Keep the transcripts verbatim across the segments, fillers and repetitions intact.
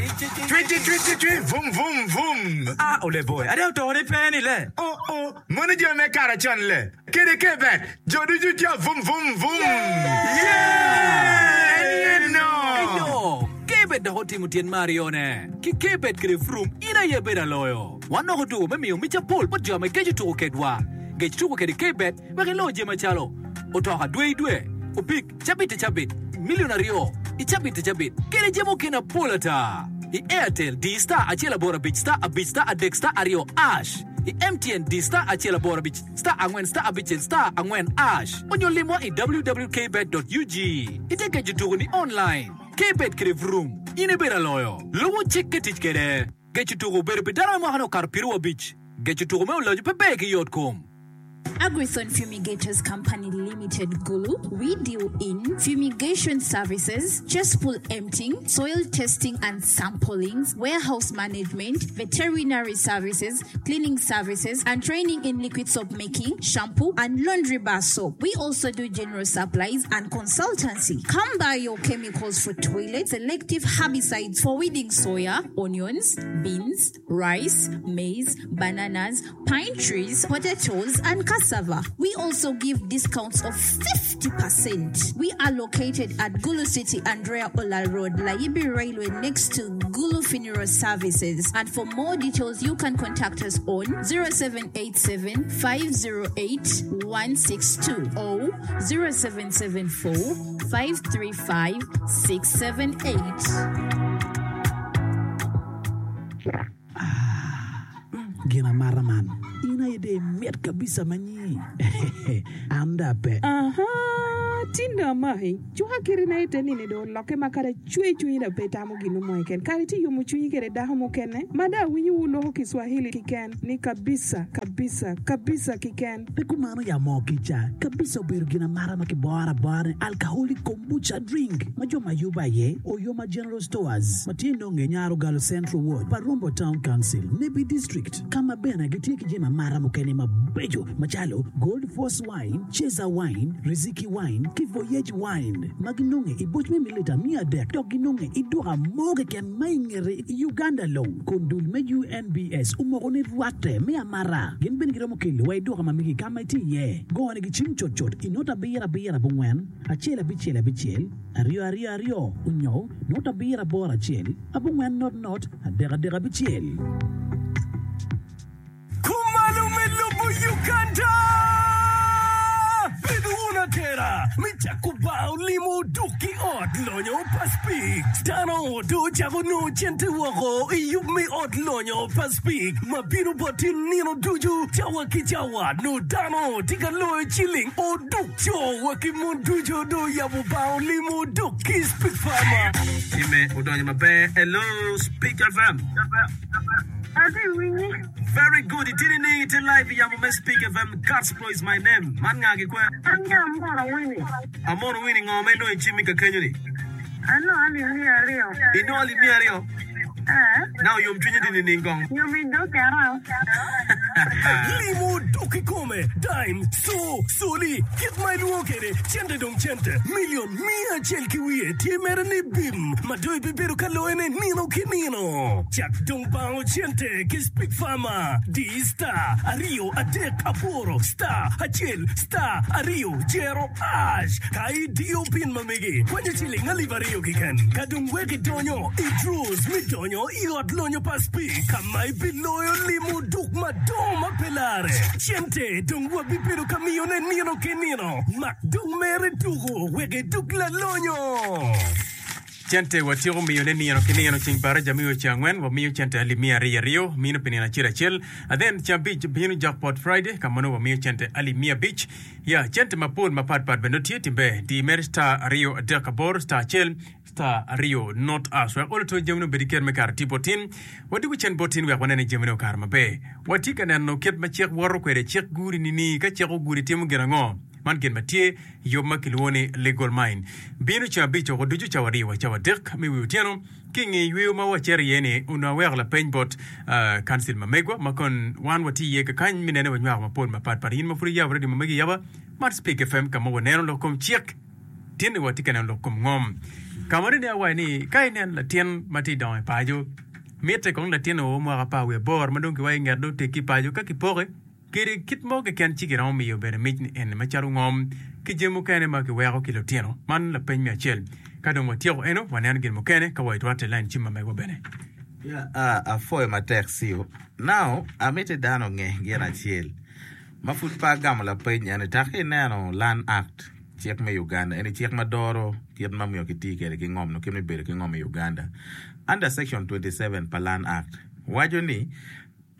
Cwi cwi cwi cwi cwi vum vum vum. Ah, ole boy, ade oto ni pe ni le. Oh oh, mono jo me kara con le. Kede kebet, jo ducu tye vum vum vum. Yeah! En no. Eyo, Kbet dok otimo tyen me aryone. Ki Kbet kede Vroom, in aye bedo aloyo. Wan dok odugo me miyo mic apol bot jo me geco tuko kedwa. Gec tuko kede Kbet wek ilo jami macalo otoka dwe i dwe, opik cabit i cabit, milion aryo i cabit i cabit, kede jami mukene apol ata. I Airtel, di star acel aboro abic star abic star adek star aryo ash. I M T N, di star acel aboro abic star angwen star abicel star angwen ash. Onyo limwa i w w w dot kbet dot u g. Ite geco tuko ni online. Kbet kede Vroom, in ibedo aloyo. Lubo cik ke tic kede. Geco tuko obedo pi dano me mwaka ni okato piero abic. Geco tuko me olojo pe ber ki yot kom. Agrithon Fumigators Company Limited Gulu. We deal in fumigation services, cesspool emptying, soil testing and sampling, warehouse management, veterinary services, cleaning services, and training in liquid soap making, shampoo, and laundry bar soap. We also do general supplies and consultancy. Come buy your chemicals for toilets, selective herbicides for weeding soya, onions, beans, rice, maize, bananas, pine trees, potatoes, and cassava. We also give discounts of fifty percent. We are located at Gulu City, Andrea Ola Road, Layibi Railway, next to Gulu Funeral Services. And for more details, you can contact us on zero seven eight seven five zero eight one six two or zero seven seven four five three five six seven eight. Gin amata man in aye de mit kabisa manyi an da pe. Aha, tindo amaki cuka kiti na ite nini do olokke ma kada cwe cwinyi da pe tamo gino mo keken kare ti yomo cwinyi kede dako mukene ma da awinyo wu loko Kiswahili kiken ni kabisa kabisa kabisa kiken. Pe kumano ya mo kica kabisa obedo gin amata ma kiboro abora ni alcoholic kombucha drink ma jo ma yubo aye Oyoma General Stores ma tye nonge Nyaro Galo Central Ward Parumbo Town Council, Nebbi District, ka ma bene gitye ki jami amata mukene mabeco macalo Gold Force Wine, Cheza Wine, Riziki Wine ki Voyage Wine ma ginonge i boc me mililita mia adek dok ginonge i duka mo keken ma i ngete i Uganda long kun dul me U N B S omoko ni rwatte me amata. Gin bene giromo kelo wa i duka ma megi ka ma itye iye. Gone gi cim cutcut i not abiro abiro abongwen acel abicel abicel aryo aryo aryo onyo not abiro aboro acel abongwen not not adek adek abicel. Kumalo me lobo Uganda! Bedo wun atera me cako bar olimo duk ki ot lonyo pa Speke. Dano do ocako nongo cente woko i yub me ot lonyo pa Speke ma bino bot in nino ducu cawa ki cawa no dano tye ka loyo ciling oduk co wa ki mon ducu do yabo bar olimo duk ki Speke Farmer. Time odonyo maber. Hello, Speak F M. Ati winyi. Very good. Itini ni ite live yamo me Speak F M. Gospel is my name. Man nga gi kwe? An ga Amoro Winnie. Amoro Winnie, ngo ma inongo i cimmi ka kenyo ni? Ano alip mia ariyo. Inongo alip mia ariyo? Eh. Na oyom cwinyi di nining kong? Yomi dokera. Limo duk kikome, dime, so, soli, kit ma ilwongo kede, cente dong cente, milion mia acel ki wiye tye mere ni bim, ma do ibibedo ka loyone nino ki nino. Cak dong bango cente ki Speak Farmer, di star aryo adek aboro star acel star aryo jero hash. Ka idiyo pin ma megi, kwanyo ciling alip aryo kiken. Ka dong wek idonyo i draws mi donyo i ot lonyo pa Speak, ka ma ibiloyo limo duk madongo ma pe lare. Cente dong wabibedo ka miyone nino ki nino. Mak dong mere tuko wek iduk lalonyo. Cente watyeko miyone nino ki nino ceng baraja miyo ceng angwen wamiyo cente alip mia ariyo ariyo mino pi nino acel acel and then ceng abic bino jackpot Friday ka ma nongo wamiyo cente alip mia abic ya cente mapol mapatpat bene tye timbe di mere star aryo adek aboro star acel star aryo not us wek olo to jamine obed ki ker me kare tipo tin wadwogo cen bot tin wek wanene jamine okaro maber. Watye ka neno kit ma cik woto kwede cik guri nini ka cik oguri timo gin ango man gin ma tye yub ma kilwongo ni Legal Mind bino ceng abic oko ducu cawa aryo wa cawa adek me wi otyeno ki i nge yweyo ma wacito iye ni onongo aweko lapeny bot uh, council ma megwa ma kon wan watye iye kakany mi nene wanywako mapol mapatpat. In ma pud iyabo radio ma megi ayaba mar Speak F M ka ma waneno lok kom cik tinni watye ka neno lok kom ngom. Ka ma dong awaco ni ka inen latin ma tye dongo i paco, mitte kong latin oo mwaka apar wiye aboro ma dong kiwaco nget dong oteggi i paco ka kipoke kede kit mo keken ci kiromo miyo bene mic ni eni macalo ngom ki jami mukene ma kiweko ki lutino. Man lapeny me acel. Ka dong watyeko eno, waneno gin mukene ka wa itwatte i lain cim ma megwa bene. Yeah, uh, apwoyo matek Sio. Now, amiti dano onge gin acel. Ma pud pe agamo lapeny eni, tak ineno Land Act, cik me Uganda, eni cik ma doro kit ma myero kiti kwede ki ngom nyo kit me bedo ki ngom i Uganda. Under section twenty seven pa Land Act waco ni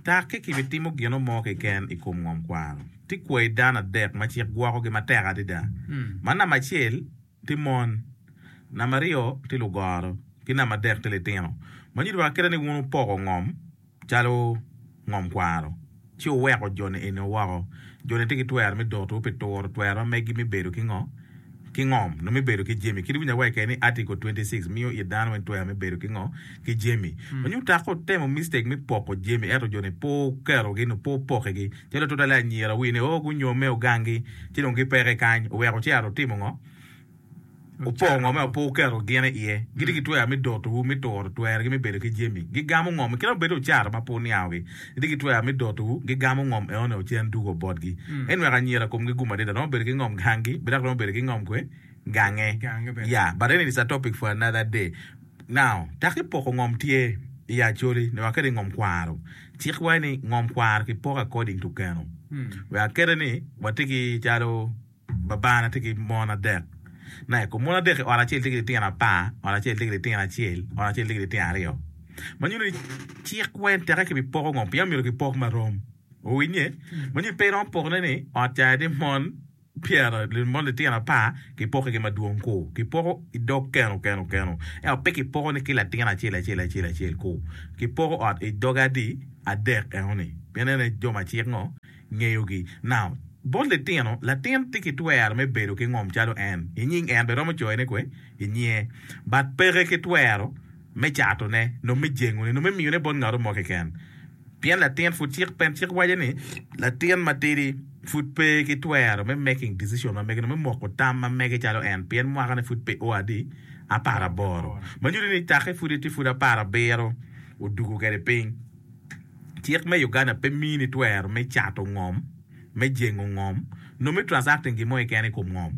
tak ki kibitimo gino mo keken i kom ngom kwaro, tye kwayi dano adek ma cik gwokogi matek adada. Ma namba acel tye mon, namba aryo tye lugoro, ki namba adek tye litino. Ma nyuto wa kite ni wun wupoko ngom calo ngom kwaro, ci wuweko jo-ni eni woko. Jo-ni tye ki twero me dotowu pi turo twero ma megi me bedo ki ngo? Ki ngom, nyo me bedo ki jami. Kit iwinyo awaci kene ni Article twenty six miyo it dano weng twero me bedo ki ngo? Ki jami. Ma nyuto tako wutemo mistake me poko jami ento jo-ni pe wuketogi nyo pe wupokigi. Calo tutwalle anyira wi ni oo gunyome ogangi ci dong gipeke kany oweko wucito wutimo ngo? Wupoko ngom ento pe wuketo gin iye. Gitye ki twero me dotowu, me turo twerogi me bedo ki jami. Gigamo ngom, kit ma obedo wucato ma pe wuniangogi. Gitye ki twero me dotowu, gigamo ngom enoni ocen dugo botgi. En weko anyira komgi gum adada, romo bedo ki ngom gangi, be dok romo bedo ki ngom kwe gange. Yeah, but anyway, it's a topic for another day. Now, tak ipoko ngom tye i Acholi, nyo wakete i ngom kwaro. Cik waco ni ngom kwaro kipoko according to keno. Wek akete ni watye ki calo Babana tye ki mon adek. Neko, mon adek i ot acel tye ki litino apar, ot acel tye ki litino acel, ot acel tye ki litino aryo. Ma nyuto ni cik weng teke kibipoko ngom pien myero kipok marom. Owinye? Ma nyuto ni pe iromo pokone ni ot ca tye mon pyera, mon litino apar kipoko ki madwong ku. Kipoko i dog keno keno keno. Ento pe kipoko ni ki latin acel acel acel acel ku. Kipoko ot i doge adi? Adek enoni. Pien en aye jo ma cik ngo? Ngeyogi. Now, bot litino, latin tye ki twero me bedo ki ngom calo en, i nying en bene romo coyone kwe i nyinge, but peke ki twero me catone, nyo me jengone, nyo me miyone bot ngato mo keken. Pien latin pud cik pen cik waco ni latin matidi pud pe ki twero me making decision ma mege, nyo me moko tam ma mege calo en, pien mwakane pud pe o adi? Apar aboro. Ma nyuto ni take pud etye pud apar abiro odugo kwede piny. Cik me Uganda pe mini twero me cato ngom, me jengo ngom, nyo me transacting gin mo keken i kom ngom.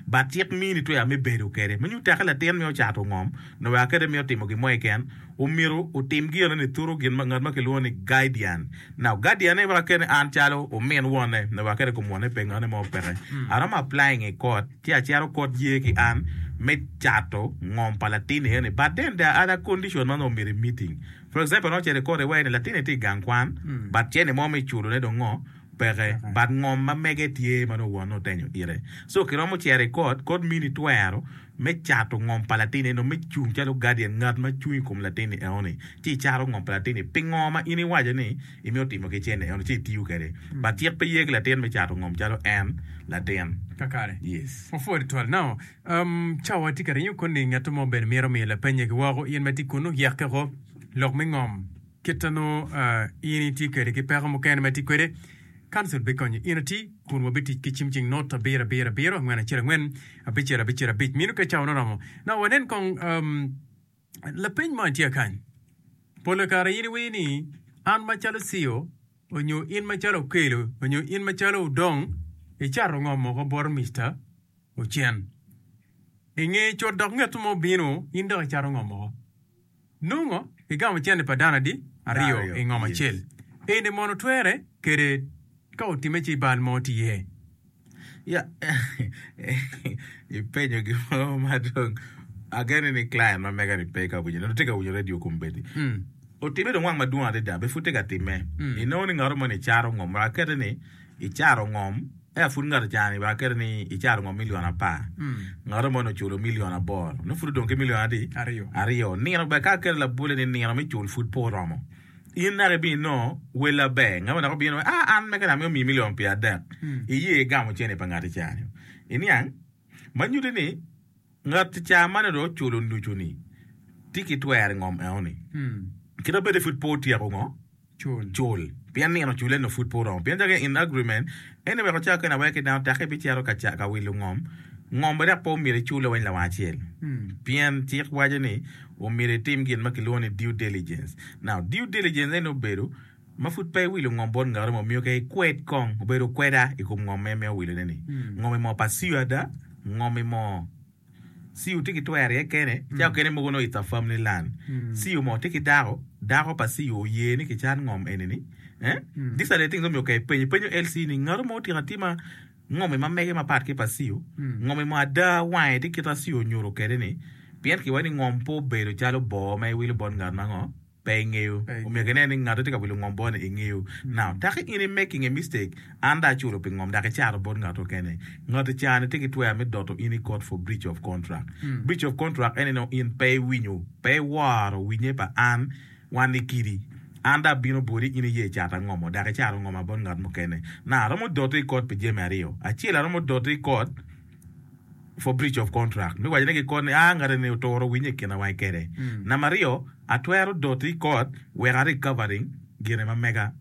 But cik mini twero me bedo kede. Ma nyuto teke latin mito cato ngom, nyo wek akede mito timo gin mo keken, omyero otim gin ni through gin ma ngat ma kilwongo ni guardian. Now guardian ne wek akede ni an calo omin wonne, nyo wek akede kom wonne pe ngane mo peke. Aromo applying i court ci acito court ye ki an me cato ngom pa latin eni but then there are other condition ma nongo omyero i meeting. For example, nongo ocito i court iwaci ni latinni tye i gang kwan but cente mo me culone dong ngo peke but ngom ma mege tye ma nongo wonne otenyo ite. So kiromo cito i court, court mini twero me cato ngom pa latinni eno me cung calo guardian ngat ma cung i kom latinni enoni ci icato ngom pa latinni pi ngo ma in iwaco ni imito timo ki cente enoni ci itiyo kwede but cik pe ye ki latin me cato ngom calo en latin. Kakare. Yes. Wapwod twal. Now, um, cawa tye ka ringo koni ngat mo bene mito miyo lapenye ki woko in ma itye kunu yekke oko lok me ngom kit nongo uh, in itye kwede ki peko mukene ma itye kwede Council bikonyo in ati kun wabitic ki cim cing not abiro abiro abiro angwen acel angwen abicel abicel abic mino ka cawa noromo. Now wanen kong um, lapeny mo tye kany. Pol kare in iwinyo ni an macalo C E O onyo in macalo Okello onyo in macalo Odong icato ngom moko bot Mister Ocen. Inge cut dok ngat mo obino in dok icato ngom moko. Nongo igamo cente pa dano adi? Aryo i ngom acel. Eni mono twere kede ka otime ci bal mo tye iye? Ya, ipenyo gin mo ma dong ageno ni client ma mega ni pe ka winyo, nongo tye ka winyo radio kombeddi. Otime dong wang madwong adada, be pud tye ka timme. Inongo ni ngat moni cato ngom, wek akete ni icato ngom, eka pud ngat ocani wek akete ni icato ngom milion apar, ngat moni oculo milion aboro, nongo pud odong ki milion adi? Aryo. Nino bene ka aketo labolle ni nino me cul pud pe oromo. In naka ibino inongo wel aber, ngat mo dok obino ah an mege amito miyi milion pyer adek, iye igamo cene pa ngat icani. Iniang? Ma nyutti ni ngat ca ma dong oculo nucu-ni tye ki twero i ngom enoni. Kit ma bed ni pud pe otyeko ngo? Cul. Pien nino cule nongo pud pe oromo. Pien calo in agreement, en weko ca kene aweka ki dano tekke ibicito ka wilo ngom, Ngom bene dok pe omyero icule weng lawang acel. Pien cik waco ni omyero itim gin ma kilwongo ni due diligence. Now, due diligence eni obedo ma pud pe iwilo ngom bot ngat mo, myero kong ikwed kong, obedo kweda i kom ngom ma imito wilone ni. Ngom-mi moo pa C E O ada? Ngom-mi moo C E O tye ki twero iye kene? Ca okene mogo nongo it's a family land. C E O moo tye ki dako, dako pa C E O oye ni kicat ngom eni ni. Eh? These are the things ma myero kong ipeny. Ipenyo L C ni ngat mo otyeko atima Ngomi ma mege mapat ki pa C E O, ngomi mo ada wange tye kit ma C E O onyuto kwede ni, pien kiwaco ni ngom pe obedo calo boo ma iwilo bot ngat ma ngo pe ingeyo. Omyero kinen ni ngat ma tye ka wilo ngom bot ni ingeyo. Now, taki in i making a mistake, an dong aculo pi ngom dok icato bot ngat mukene. Ngat ca ni tye ki twero me doto in i court for breach of contract. Breach of contract ene nongo in pe iwinyo, pe iworo winye pa an. Wan ni kidi. An dong abino boti, in iye icata ngomo, dok icato ngoma bot ngat mukene. Na, aromo doti i kot pi jami aryo. Acel, aromo doti i kot for breach of contract, me wacone ki kot ni, aa, ngat eni oturo winye i kina wa kede. Namba aryo, atwero doti i kot wek a recovering gine ma mega,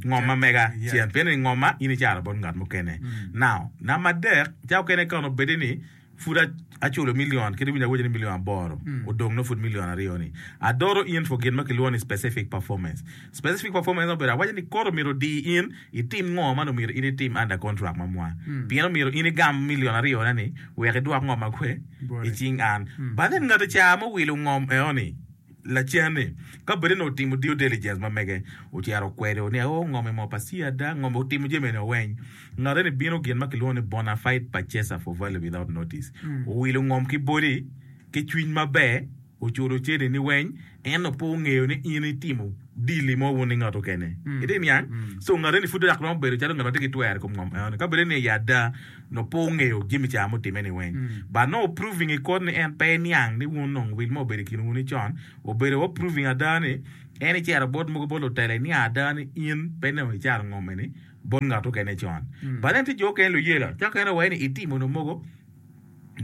ngom ma mega cen, pien ni ngoma in icato bot ngat mukene. Now, namba adek, ca okene ka onongo bedi ni Pud aculo million kit iwinyo awaco ni million aboro odong nongo pud million aryo ni adoro in for gin ma kilwongo ni specific performance. Specific performance obedo awaco ni koro myero odi in itim ngo ma myero in itim under contract ma mwa pien omyero in igam million aryo na ni wek idwok ngo ma kwe icing an but then ngat ca ma owilo ngom eno ni Lacen-ni, ka bed ni otimo due diligence ma mege, ocito okwedo ni oo ngom-mi mo pa C ada, ngom otimo jami eni weng. Ngat eni bino gin ma kilwongo ni bona fide purchaser for value without notice. Owilo ngom ki boti ki cwiny maber, oculo cente ni weng, ento pe ongeyo ni in itimo deal-li mo wun ki ngat okene. Itye niang? So ngat eni pud dok romo bedo calo ngat ma tye ki twero i kom ngom eno-ni. Ka bed ni i ada nongo pe ongeyo jami ca mutimme ni weng. But nongo proving i court ni en pe niang ni wun nongo wil mo obedo i kin wun ni con, obedo wa proving ada ni en icito bot mogo bot lutela iniang ada ni in pe nongo icato ngom eni bot ngat okene con. But then tye jo okene luyela ca okene waci ni itimo nongo mogo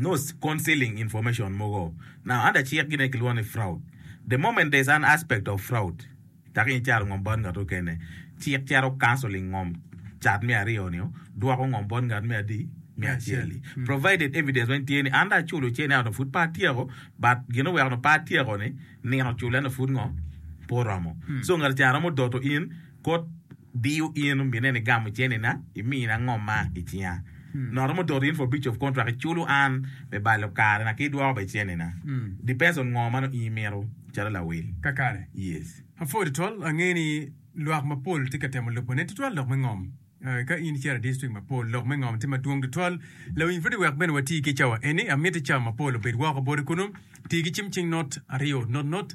no concealing information mogo. Now under cik gine kilwongo ni fraud. The moment there is an aspect of fraud, dok in icato ngom bot ngat mukene, cik cito cancelling ngom cat me aryo nio, dwoko ngom bot ngat me adi? Me acel-li. Provided evidence weng tye ni an dong aculo cene ento pud pe atyeko, but gin oweko nongo pe atyeko ni nino cule ento pud ngo? Pe oromo. So ngat ca romo doto in kot diyo in omine ni gamo cene na imina ngom ma i cinga. Nongo romo doto in for breach of contract iculo an me balo kare na ki idwoko be cene na. Depends on ngo ma nongo in imito calo lawil. Kakare. Yes. Apwoyo tutwal, ange ni lwak mapol tye ka temo lubone tutwal lok me ngom. Ka in icito i district mapol, lok me ngom tye madwong tutwal. Lawiny pud wek bene wati ki cawa eni. Amiti cawa mapol obed woko boti kunu. Ti ki cim cing not aryo not not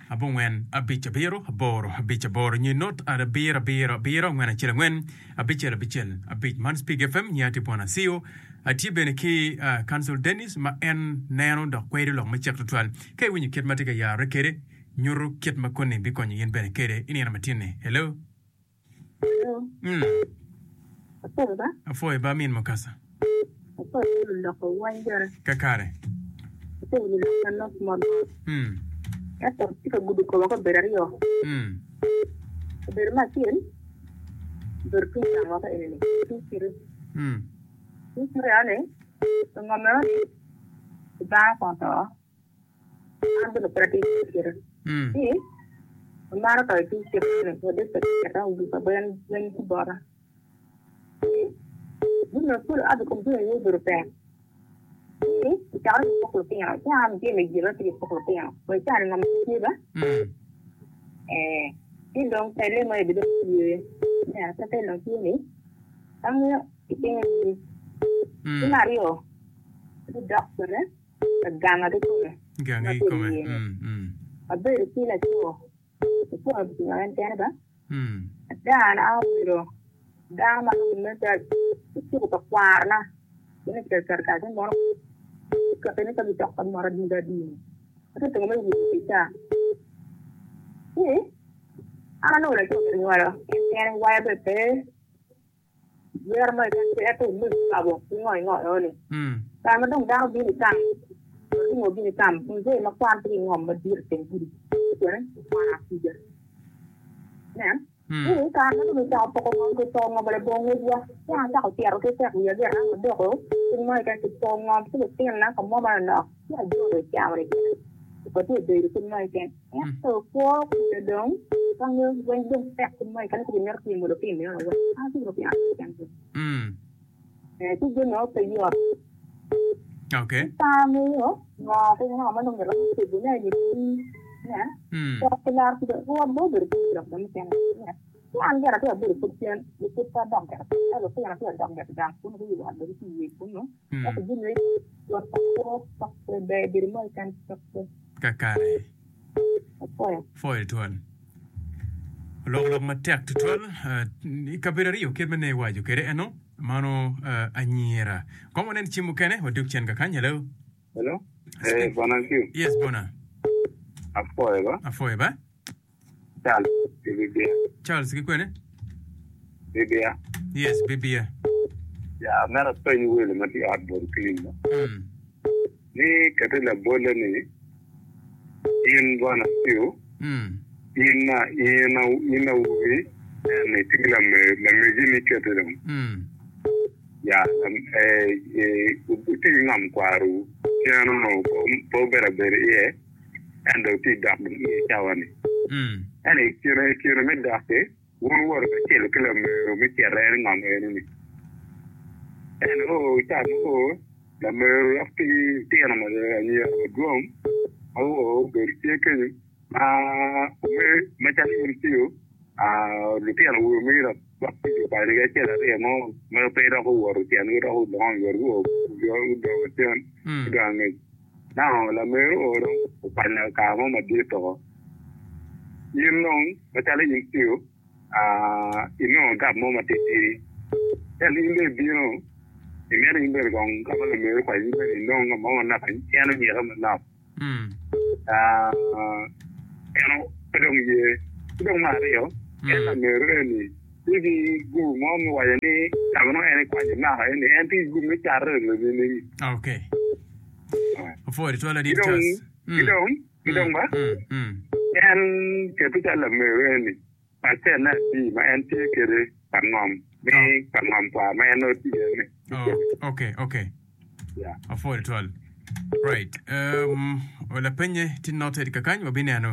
abongwen abic abiro aboro abic aboro nyo not abiro abiro abiro angwen acel angwen abicel abicel abic. Man Speak F M nyiya tye Bwana Acio. Atye bene ki Council Dennis ma en neno dok kwedo lok me cik tutwal. Ka iwinyo kit ma tye ka yarre kede, nyuto kit ma koni bikonyo in bene kede i nino matin-ni. Hello. Hello. Mm. Apwoyo ba. Apwoyo ba min Mukasa. Apwoyo ba luloko wany bene. Kakare. Apwoyo luloko manok mot. Mm. Ento tye ka gudo koma kabedo aryo. Mm. Kabedo me acel obedo tung gangwa ka eni-ni, tung citi. Mm. Tung citi eno-ni, ngom eno-ni dano kong oto. An bene pe atye ki kite. Ci amaro to i tung citi-ni wadde pe keta oguka ben weng ki bota. Ci jami mapol oa i kom jami aye obedo tek. Ci ocakore ki poko lutino. Ci an jami gin atye ki poko lutino. Wa i caa-ni ngom tye ba? Ee, ci dong tele mo aye dong tye. Ineno ka tele dong tye ni, angeyo i cinga ni. Ki me aryo, gudok kwede. Ganga kikome Ganga ma kikome. tye iye-ni. Mm, mm. Abedo ki laco, laco otingo en kene ba. Mm. Ada an abedo dano ma lumme calo iciko pa kwarna gin ecito keto kare ci mono kati ni ka gicok ka mot adunga adunga ento tingo me wiye pi ca ci an anongo laco myero nywalo en kene waya bene pe Yero mo keken pe ento me kabo ki ngo ingo eo ni. Kare ma dong dano bino i kam, lutingo bino i kam, mzee ma kwan tye ki ngom madit i teng gudi, bene okwano apiga. Inen? Ni i kare ma dong kicako poko ngom kipoko ngom labongo ngecwa, ci an acako cito ki tek wiya gire an odoko kit mo keken kipoko ngom ki lutinona ka mo manonok ci ajolo cawa-ni gire watye ka bedo kit mo keken. Ento kwo kwe dong ka ngeyo weng dong tek kit mo keken ni pe gimito timo lutino eno weng an atye ki lutino aryo keken. Ee, ci jami mo pe yot. Okay. Pe angeyo ngo ki ngo ma nongo iromo cobone nyo ne cok ki laro pud rwot bene obedo tye lok dong mukene ne ci an gire atye abedo pud cen pud pe adok gire ento lutino tye adok gire gang kunu guyubo ot bene gitye i wic kunu ento jami yot pa kwo cok pe ber bedo mo keken cok pe. Kakare. Apwoyo. Pwoyo twal. Oloko lok matek tutwal i kabedo aryo kit ma ne iwaco kwede eno mano anyira. Kong wanen cim mukene wadug cen kakany. Hello. Hello. Eh, Bwana Nkiu. Yes, Bwana. Apwoyo ba. Apwoyo ba. Charles ki Bibia. Charles ki kwene? Bibia. Yes, Bibia. Ya, mera apeny welo ma tye i ot bot Clean ba. Mm. Ni kati labolle ni in Bwana Nkiu, Mm. in na in in awobi en itye ki lame lamegi ni kete dong. Mm. Ya, wutye ki ngom kwarowu, cen onongo pe wubedo abedo iye, ento wutye ka dok dong iye cawa-ni. Ento i kine i kine me dok-ki, wun wuwoto kacel ki lameru me cito en i ngom eno-ni. Ento oo, ca ma oo, lameru dok tye ki litino anyira madwong ma guo gubedo tye kenyo, ma macalo in tiyo, lutino awobe magi dok dok tic okwanyogi acel aryo mo ma pe dok guwoto tyengi dok gudongo i wot guo gudongo cen gudongo angec. Now lameru oo dong okwanyo kare mo madit oko. In dong macalo in tiyo inongo gap mo matitidi ento in dong ibino imito in bene kong ka ma lameru okwanyo in bene inong ka mo manok en onyike manok. En pe dong ye. Ki dong me aryo, en lameru eni tye ki gum mo me waco ni ka ma nongo en ekwanyo naka eni, en tye ki gum me cato eni. Okay. Opwoyo tutwal Ki ladit dong, Charles. ki dong, ki dong ba, en keto calo lameru eni pacenne adi ma en tye kwede pa ngom me pa ngom kwa ma en nongo tye iye-ni. Oh, okay, okay. Yeah. Apwoyo tutwal. Right. Um, lapenye tye noted kakany wabineno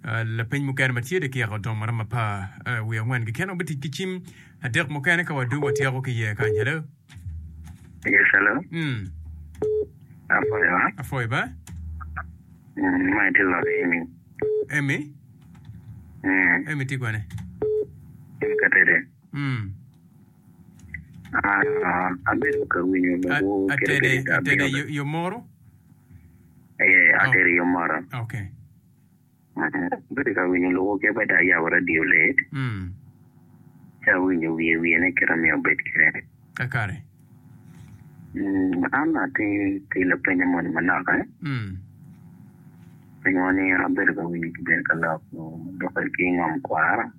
uh, lapeny mukene ma tye dakika odong maromo apar uh, wiye angwen keken wabitic ki cim adek mukene ka wadug watyeko ki iye kany. Hello. Yes, hello. Mm. Apwoyo. ha? Apwoyo ba. Mm, ma itye lok Amy. Amy. Mm, Amy tye kwene. Amy Katede. Mm. Ah, abedo ka winyo A- lokwu kit Atede, kede ka atede abino. yo, yo moro. Eh, Oh, atede yo moro. okay. Mm, Abedo ka winyo lokwu kit bada ayabo radio late. Mm. Ci awinyo wiye wiye ne kit amiyo obed kede. Kakare. Mm, an atye ki lapeny moni manok eh. Mm. Pingo ni abedo ka winyo kibedo ka lok lok ki ngom kwara.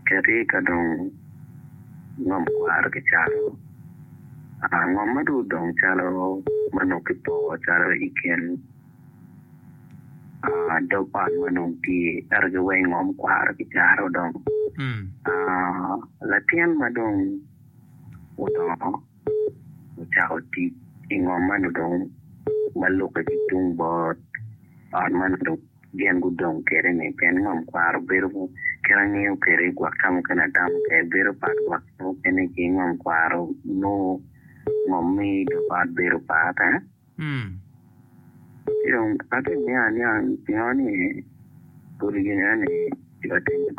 Keti ka dong ngom kwaro kicalo, ngom ma dong odong calo ma nongo kipoko calo i kin dog ot ma nongo tye ento giweng ngom kwaro kicaro dong. Latin ma dong odongo ocako tic i ngom man dong ma lukke ki tung bot ot man dong gin gudong kwede-ni pien ngom kwaro bedo kit angeyo kwede gwok ka mukene atamo kwede bedo pat gwok ka mukene ki ngom kwaro nongo ngom me dog ot bedo pat eh ci dong atye niang aniang pingo ni kodi gin eni tye ka timme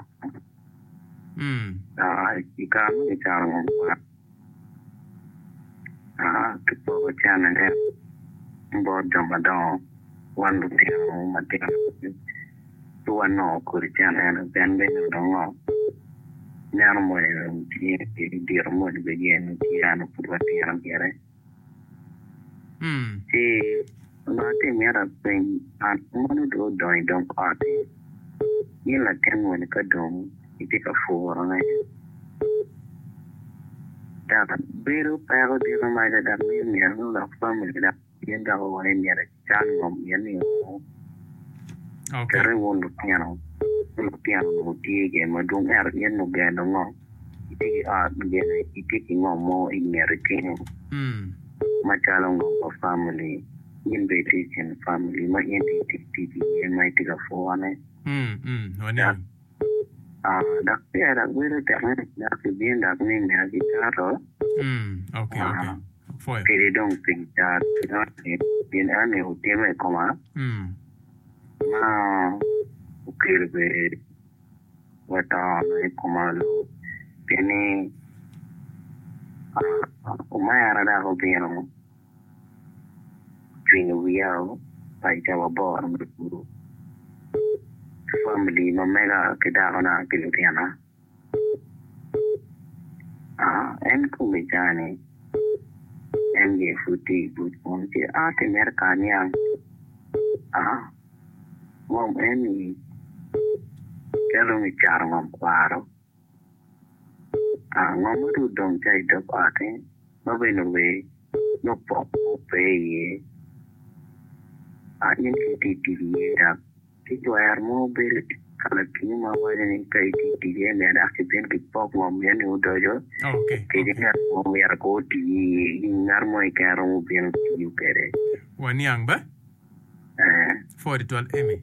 i kare ma kicano ngom kwaro Kipoko cente bot jo madongo wan lutino matino ci wanongo kodi cente eno pien bene onongo neno moni dong tye diro moni bene gin tye ento pud watino gire ci onongo atye mito apeny an mono dong odongo i dog ot-ti in latin moni ka dong itye ka purone dok bedo peko dito maca dok miyo myero gulok famili dok gin dok owaco ni myero ecan ngom pien ni Okay. kati wun lutino Lutino onongo tye gin madwong ento in ogeno ngo? Itye ki ot gin itye ki ngom mo i ngeti kenyo macalo ngom pa family in bene itye i kin family ma in itye tic iye ma itye ka pwone. Dok pire dok bedo tek ni dok kibino dok ni myero kicato kadi dong pe kicato gin eni otimme i koma. Ma okelo bene wa to i koma pien ni omera dok obino ocwinyo wiya paco ca waboro me pur famili ma mega ki dakona ki lutina. En kome cani en gire pud tye i buc kunu ci a ki mito ka aniang ngom eni ka dong kicato ngom kwaro ngom ma dong odong ca i dog ot-ti ma bene wer nongo pok mo pe iye in ka itye ka tic iye dok Ki twero mo bedo ka lakinyo ma waco ni ka itye i tic eni dok kibin kipok ngom eni odoco kadi ngat mo myero ko oti iye ngat mo keken romo bino tiyo kwede. Waniang ba? Ee. Pwod twal Amy.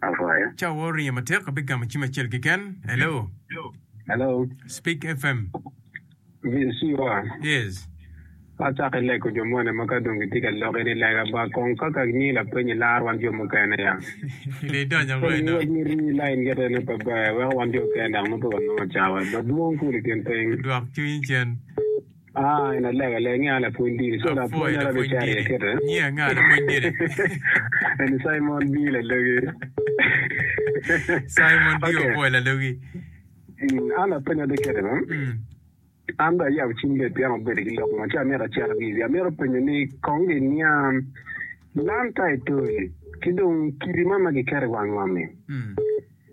Apwoyo. Cawa oringo matek abigamo cim acel keken. Hello. Hello. Speak FM. Vcwa. Yes. Acako ilego jo moni ma ka dong gitye ka loki ni lega ba kong ka ka miyi lapeny ilar wan jo mukene ya. Lee idonyo ango Koni eno? wek ni rii line gete ne pe ber weko wan jo okene dok nongo pe wanongo cawa ba dwong kul ikin piny. Dwok cwinyi cen. Ah en alega lega nge a lapwony dini so Apwoyo lapwony ara lapwony bicito iye dini. kite. Nyingi anga lapwony dini? Eni Simon B lalogi. Simon B Okay. opwoyo lalogi. Mm, an lapeny ade kite ba. Mm. An bene ayabo cim bed pien abedo ki lok mo ci amito acito ki i wiye. Amito penyo ni kong giniang land title ki dong kidi man ma giketo i wang ngom-mi.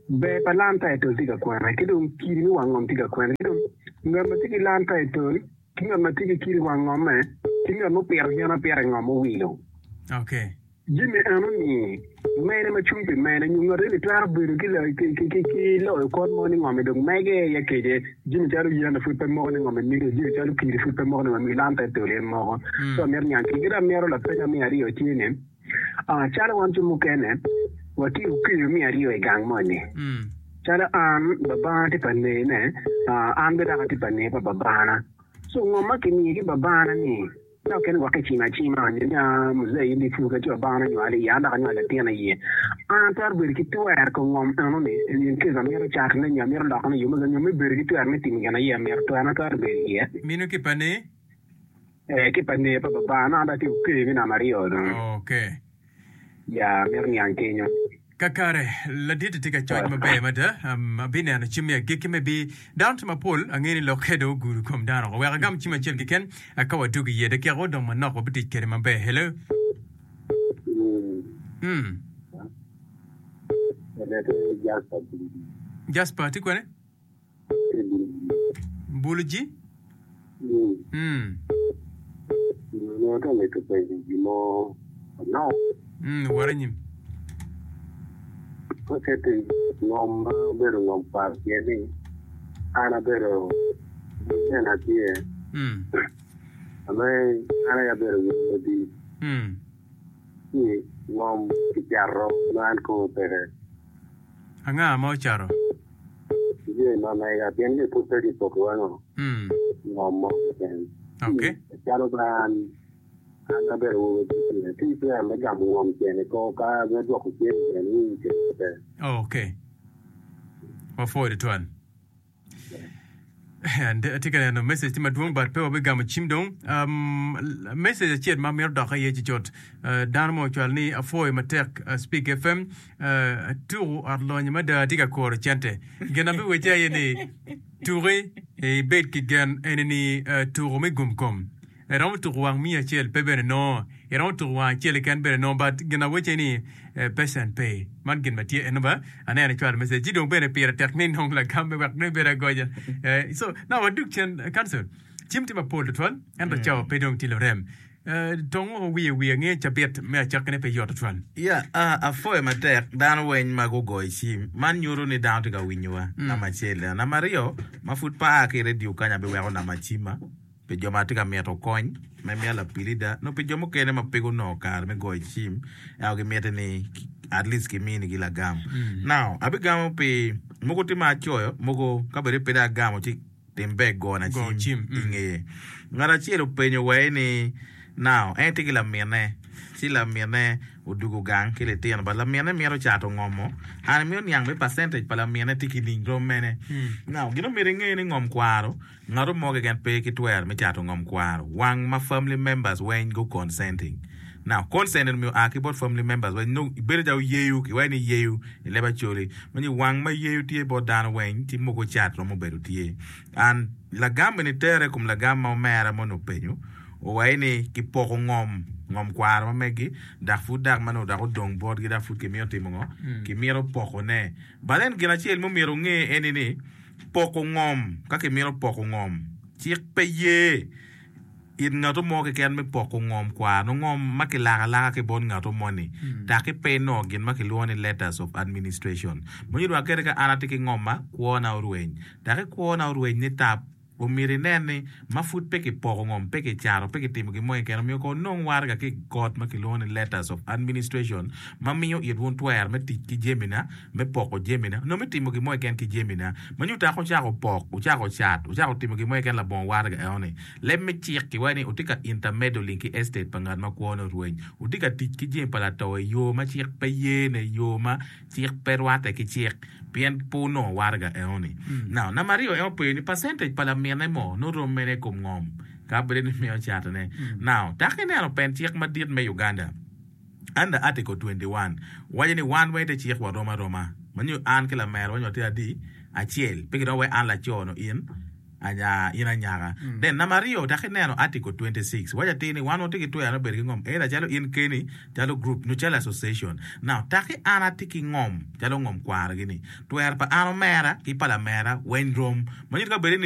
Ber pa land title tye ka kwene ki dong kidi me wang ngom tye ka kwene ki dong ngat ma tye ki land title ki ngat ma tye ki kidi i wang ngomme ki ngat ma opito yen apita i ngom owilo. Okay. Jami eno-ni mene ma cung pi mene nyo ngat eni twero bedo ki loyo kot mo ni ngom-mi dong mege iye kece jami calo yen pud pe moko ni ngom-mi mege jami calo kidi pud pe moko ni ngom-mi lan te tol en moko so amito niang ki dong amito lapeny me aryo tye ni calo wan jo mukene watye okeyo me aryo i gang moni calo an babana tye pa nene an bene dok atye pa ne pa babana so ngom ma kimiyo ki babana ni Ka okene gwok kicimo acima nyo ni aa muzee in dong ipur ka ci wabana onywali iye an dok anywalo latin iye. An atwero bedo ki twer kom ngom eno ni in case amito catone nyo amito lokone i yo me nyo me bedo ki twer me timo gin aye amito twerna twero bedo iye. Mino ki pa ne? Ee ki pa ne pa babana an dong atye okeyo me namba aryo dong. Okay. Ya amito niang kenyo. Kakare, ladit tye ka coc maber mada. Um, abineno cim me agikki me bi. Dano tye mapol, angeyo ni lokke dong ogudo kom dano oko. Wek agam cim acel keken, ka wadwogo iye. Dakika odong manok, wabitic kwede maber. Hello? Mm. Jasper, tye kwene? Buluji? Mm. Mm, wot anyim. Ngom ma obedo ngom kwar pien ni an abedo bene atye Mm. ame an aye abedo won madit Mm. ci ngom kicato ma an kome peke. Anga ma ocato? Jami ma mega pien ni pud pe kipokiwa ngo Mm. ngom mo keken. Okay. Calo ba an an abedo awobi tye tye twero me gamo ngom cen i kor ka me dwoko cen cen winyo cen pe. Okay. Wapwoyo tutwal. And atye ka neno message tye madwong but pe wabigamo cim dong. Um, message acel ma amito dok iye cucut. Uh, dano mo ocwalo ni apwoyo matek uh, Speak FM. Uh, tuku ot lonyo mada atye ka kuro cente. Gin abiwecce aye ni tuki ibed ki gen eni ni uh, tuku me gum kom. Iromo tuko wang miya acel pe bene nongo. Iromo tuko wang acel keken bene nongo but gin awecce ni pecen pe. Man gin ma tye eno ba aneno icwalo message ci dong bene pire tek ni inong lagamme wek dong ibed agonya. So now wadug cen council cim tye mapol tutwal ento cawa pe dong tye lurem. Tong woko wiye wiye nge cabit me acakkine pe yot tutwal. Ya, apwoyo matek dano weng ma gugoyo cim. Man nyuto ni dano tye ka winyowa, namba acel. Namba aryo, ma pud pe aa ki i redio kany abiweko namba cimma pi jo ma tye ka mito kony me miya lapilida nyo pi jo mukene ma pe gunongo kare me goyo cim ento gimiti ni at least kiminigi lagam. Now, abigamo pi mogo tye ma acoyo, mogo ka bed ni pe dong agamo ci Tim ber gona cim i ngeye. Ngat acel openyo wa ni, Now, en tye ki laminne, ci laminne odwogo gang ki litino, but laminne mito cato ngomo. An amito niang ni percentage pa laminne tye ki ling rom mene. Now, gin omyero inge ni ngom kwaro, ngat mo keken pe ki twero me cato ngom kwaro wang ma family members weng gu consenting. Now, consent eni oa ki bot family members weng nongo bedo calo yeyo, kiwaco ni yeyo i leb Acholi, ma nyo wang ma yeyo tye bot dano weng ci mogo cat romo bedo tye. And lagam eni tere i kom lagam ma omera moni openyo, owaco ni kipoko ngom, ngom kwaro ma megi dok pud dok ma nongo dok odong botgi dok pud kimito timo ngo? Kimito pokone. But then gin acel ma omyero wunge eni ni poko ngom, ka kimito poko ngom, cik pe ye. It ngatu mo keken me poko ngom kwar nongo ngom ma kilako alaka ki bot ngatu moni taki pe inongo gin ma kilwongo ni letters of administration. Ma nyuto wa kadi ka an atye ki ngomma kwona orweny taki kwona orweny ni tap omyero inen ni ma pud pe kipoko ngom pe kicato pe kitimo gin mo keken omyero kong onong waraga ki i kot ma kilwongo ni letters of administration ma miyo it wun twero me tic ki jamina me poko jamina nyo me timo gin mo keken ki jamina ma nyuto taki wucako pok wucako cat wucako timo gin mo keken labongo waraga enoni. Leb me cik kiwaco ni wutye ka intermeddling ki estate pa ngat ma kwone orweny. Wutye ka tic ki jami pa lato i yo ma cik pe ye ne, yo ma cik pe rwatte ki cik, pien pe wunongo waraga enoni. Now, namba aryo en openyo ni percentage pa lamine mo nongo rom mene i kom ngom ka bedo ni miyo catone. Now, tak ineno pen cik madit me Uganda under article twenty one waco ni wan weng te cik warom aroma ma nyo an ki lamera wa nyo watye adi? Acel. Pe gidok wai an laco nyo in anya in anyaka. Then namba aryo dok ineno article twenty six waco atir ni wan watye ki twero me bedo ki ngom either calo in keni, calo group nyo calo association. Now taki an atye ki ngom calo ngom kwaro gi ni twero pa an omera ki pa lamera weng rom ma nyuto ka bedi ni